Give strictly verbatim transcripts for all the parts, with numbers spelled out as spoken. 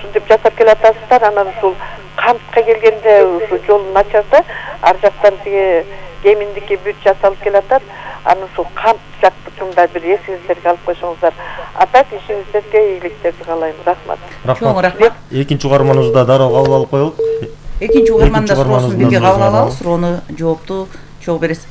ушинтип жасап келатасыздар. Анан ушул Камтка келгенде ушу жол начарда, ар жактан тиги Кеминдики бүт жасалып келатат. Анан ушул Камт жактыкында бир эсиңиздерге алып койсоңуздар. А так ишиңиздерге ийгиликтерди каалайм. Рахмат. Чоң рахмат. Экинчи угарманыбызда дароо кабыл алып коелук. Экинчи угарманда суроосун бирге кабыл алабыз. Суроону жоопту чогуу бересиз.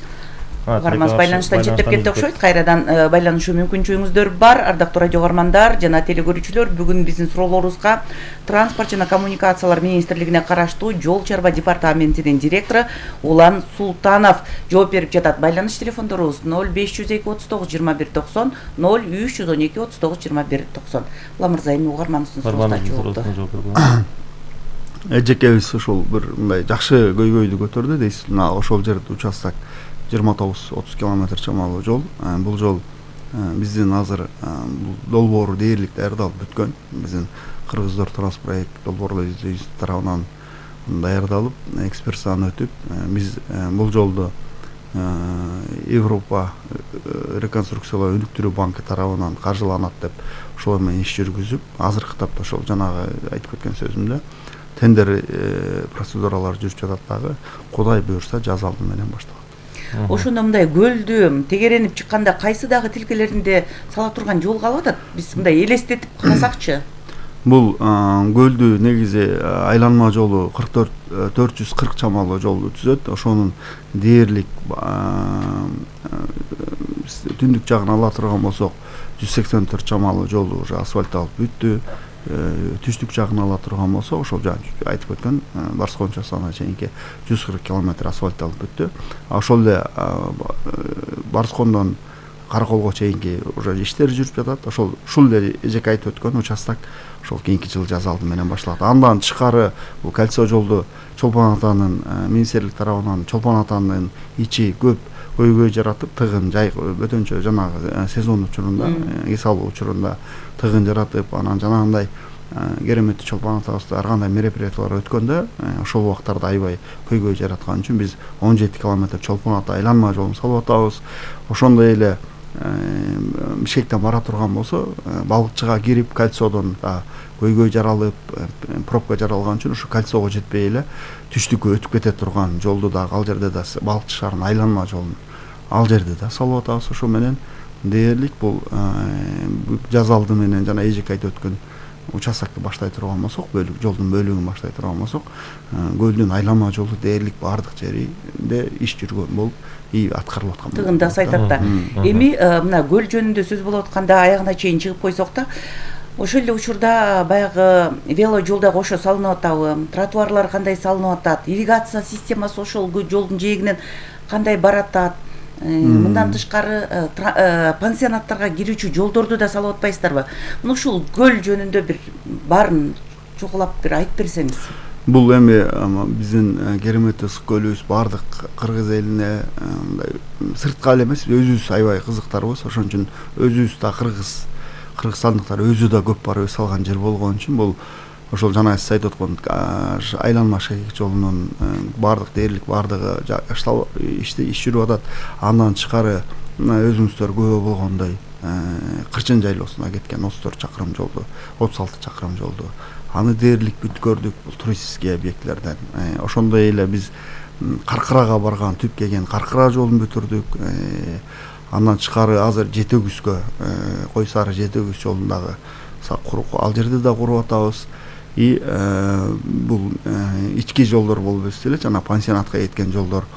Угарманыбыз байланыштан четтеп кетти окшойт. Кайрадан байланышуу мүмкүнчүлүгүңүздөр бар. Ардактуу радио угармандар жана телекөрүүчүлөр, бүгүн биздин суроолорубузга Транспорт жана коммуникациялар министрлигине караштуу Жол чарба департаментинин директору Улан Султанов жооп берип жатат. Байланыш телефондорубуз ноль беш жүз эки отуз тогуз жыйырма бир токсон, ноль үч жүз он эки отуз тогуз жыйырма бир токсон. Улан мырза, эми угарманыбыздын суроосуна жоопту. Эжекебиз ушул бир мындай жакшы көйгөйдү көтөрдү дейсиз. Мына ошол жерде участок жыйырма тогуз отуз километр чамалуу жол. Бул жол биздин азыр долбоору дээрлик даярдалып бүткөн. Биздин Кыргыздар Транспроект долбоорлоо изилдөө тарабынан даярдалып, экспертизадан өтүп, биз бул жолду Европа реконструкциялоо өнүктүрүү банкы тарабынан каржыланат деп ошол менен иш жүргүзүп, азыркы тапта ошол жанагы айтып кеткен сөзүмдө тендер процедуралары жүрүп жатат дагы. Кудай буюрса жаз алды менен башталат. Ошондо мындай көлдү тегеренип чыкканда кайсы дагы тилкелеринде сала турган жол калып атат? Биз мындай элестетип карасакчы. Бул көлдү негизи айланма жолу кырк төрт төрт жүз кырк чамалуу жолду түзөт. Ошонун дээрлик түндүк жагын ала турган болсок жүз сексен төрт чамалуу жолу уже асфальтталып бүттү. Түштүк жагын ала турган болсо ошол жаңы айтып өткөн Барскон часына чейинки жүз кырк километр асфальтталып бүттү. Ошол эле Барскондон Караколго чейинки уже иштер жүрүп жатат. Ошол ушул эле эжеке айтып өткөн участок ошол кийинки жыл жаз алды менен башталат. Андан тышкары бул кольцо жолду Чолпон Атанын министрлик тарабынан Чолпон Атанын ичи көп көйгөй жаратып, тыгын жай бөтөнчө жанагы сезон учурунда, эс алуу учурунда тыгын жаратып, анан жанагындай кереметти Чолпон Атабызда ар кандай мероприятиялар өткөндө ошол убактарда аябай көйгөй жараткан үчүн биз он жети километр Чолпон Ата айланма жолун салып атабыз. Ошондой эле Бишкектен бара турган болсо, балыкчыга кирип кольцодон да көйгөй жаралып, пробка жаралган үчүн ушу кольцого жетпей эле түштүккө өтүп кете турган жолду да ал жерде да балыкчы шаарынын айланма жолун ал жерде да салып атабыз. Ошо менен дээрлик бул жаз алды менен жана эжеке айтып өткөн участокты баштай турган болсок, бөлүк жолдун бөлүгүн баштай турган болсок, көлдүн айланма жолу дээрлик баардык жеринде иш жүргөн болуп и аткарылып аткан. Тыгында айтат да. Эми мына көл жөнүндө сөз болуп атканда аягына чейин чыгып койсок да, ошол эле учурда баягы вело жол да кошо салынып атабы, тротуарлар кандай салынып атат, ирригация системасы ошол жолдун жээгинен кандай баратат, мындан тышкары пансионаттарга кирүүчү жолдорду да салып атпайсыздарбы? Мына ушул көл жөнүндө бир баарын чокулап бир айтып берсеңиз. Бул эми биздин кереметти ысык көлүбүз баардык кыргыз элине мындай сыртка эле эмес, өзүбүз аябай кызыктарбыз. Ошон үчүн өзүбүз да кыргыз кыргызстандыктар өзү да көп барып эс алган жер болгон үчүн бул ошол жана сиз айтып аткан айланма шайык жолунун баардык дээрлик баардыгы иште иш жүрүп атат. Андан тышкары өзүңүздөр күбө болгондой Кырчын жайлоосуна кеткен отуз төрт чакырым жолду, отуз алты чакырым жолду аны дээрлик бүткөрдүк. Бул туристический объектлерден. Ошондой эле биз Каркырага барган түп келген Каркыра жолун бүтүрдүк. Андан тышкары азыр Жетөгүзгө, Кой Сары Жетөгүз жолундагы ал жерде да куруп атабыз. И бул ички жолдор болуп өтсө эле жана пансионатка кеткен жолдор,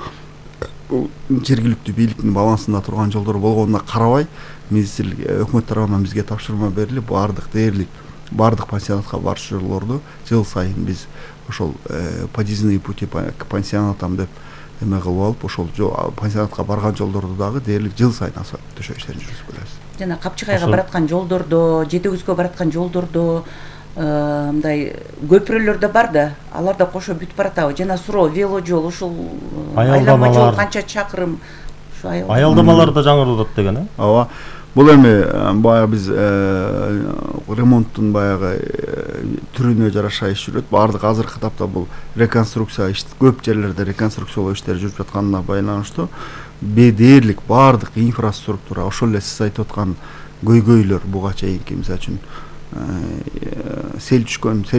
бул жергиликтүү бийликтин балансында турган жолдор болгонуна карабай, министрлик өкмөт тарабынан бизге тапшырма берилип, баардык дээрлик баардык пансионатка барчу жолдорду жыл сайын биз ошол подъездные пути к пансионатам деп эме кылып алып, ошол пансионатка барган жолдорду дагы дээрлик жыл сайын асфальт төшөө иштерин жүргүзүп келебиз. Жана Капчыгайга бараткан жолдордо, Жетөгүзгө бараткан жолдордо мындай көпүрөлөр да бар да, алар да кошо бүтүп баратабы? Жана суроо, вело жол, ушул айланма жол канча чакырым? Аялдамалар да жаңыртылат деген, э? Ооба. Бул эми баягы биз ремонттун баягы түрүнө жараша иш жүрөт. Баардык азыркы тапта бул реконструкция иш көп жерлерде реконструкциялоо иштери жүрүп жатканына байланыштуу дээрлик баардык инфраструктура, ошол эле сиз айтып аткан көйгөйлөр буга чейинки, мисалы үчүн сел түшкөн, сел